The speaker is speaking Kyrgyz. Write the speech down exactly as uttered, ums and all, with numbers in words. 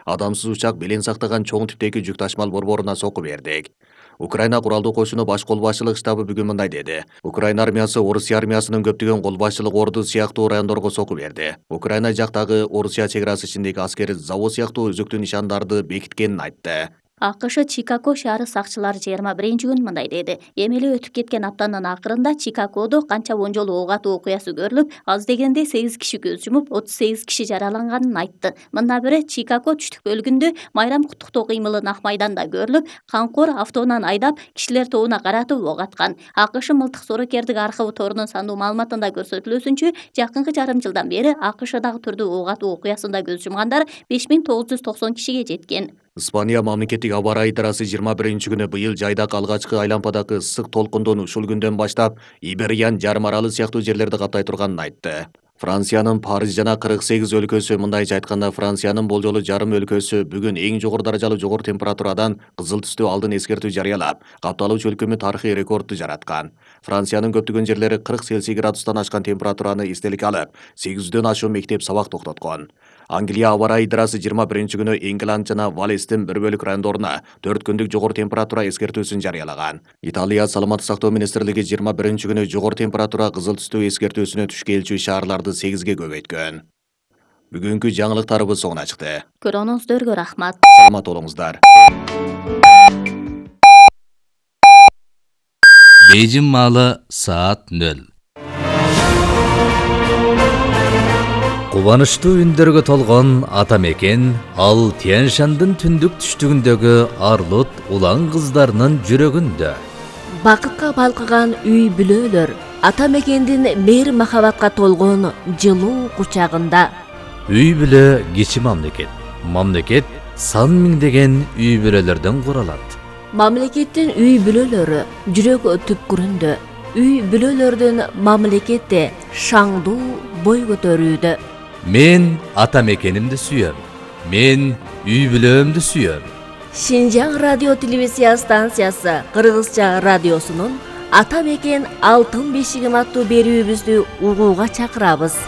Адамсыз учак белең сактаган чоң типтеги жүк ташмал борборуна сокку бердик. Украина куралдуу кошуну баш кол башчылык штабы бүгүн мындай деди. Украина армиясы Орусия армиясынын көптөгөн кол башчылык орду сыяктуу райондорго сокку берди. Украина жактагы Орусия чек арасы ичиндеги аскери завод сыяктуу өзүктүү нишандарды бекиткенин айтты. АКШ Чикаго шаары сакчылары жыйырма биринчи күн мындай деди. Эми эле өтүп кеткен аптанын акырында Чикагодо канча он жолу ок атуу окуясы көрүлүп, аз дегенде сегиз киши көз жумуп, отуз сегиз киши жараланганын айтты. Мындан бири Чикаго түштүк бөлүгүндө майрам куттуктоо кыймылы Нак майданда көрүлүп, Канкор автоунан айдап кишилер тобуна каратып ок аткан. АКШ мылтык соорукердик архивы торунун сандуу маалыматында көрсөтүлүүсүнчө, жакынкы жарым жылдан бери АКШдагы түрдүү ок атуу окуясында көз жумгандар беш миң тогуз жүз токсон кишиге жеткен. Испания мамлекеттик аба ырайы идарасы жыйырма биринчи күнү быйыл жайдак алгачкы айлампадагы ысык толкундун ушул күндөн баштап Ибериян жарым аралы сыяктуу жерлерди каптай турганын айтты. Франциянын Париж жана кырк сегиз өлкөсү, мындайча айтканда Франциянын болжолу жарым өлкөсү бүгүн эң жогору даражалуу жогору температурадан кызыл түстүү алдын эскертүү жарыялап, капталуучу өлкөмү тарыхый рекордду жараткан. Франциянын көптөгөн жерлери кырк Цельсий градустан ашкан температураны эстеликке алып, сегиз жүздөн ашуун мектеп сабак токтоткон. Англия аба ырайы идарасы жыйырма биринчи күнү Ингланд жана Валестин бир бөлүк райондоруна төрт күндүк жогору температура эскертүүсүн жарыялаган. Италия саламаттык сактоо министрлиги жыйырма биринчи күнү жогору температура кызыл түстүү эскертүүсүнө түшкүлчү шаарларды сегизге көбөйткөн. Бүгүнкү жаңылыктарыбыз соңуна чыкты. Көрүүңүздөргө рахмат. Саламат болуңуздар. Бейжин маалы саат нөл. Кубанычтуу үндөргө толгон ата мекен ал Тянь-Шандын түндүк түштүгүндөгү арлут улан кыздарынын жүрөгүндө. Бакытка балкыган үй бүлөлөр ата мекендин мейир махабатка толгон жылуу кучагында. Үй бүлө кичи мамлекет. Мамлекет сан миңдеген үй бүлөлөрдөн куралат. Мамлекеттин үй бүлөлөрү жүрөк түпкүрүндө. Үй бүлөлөрдүн мамлекетте шаңдуу бой көтөрүүдө. Мен ата мекенимди сүйөм. Мен үй бүлөмдү сүйөм. Шинжаң радио телевизия станциясы Кыргызча радиосунун Ата мекен алтын бешигим аттуу берүүбүздү угууга чакырабыз.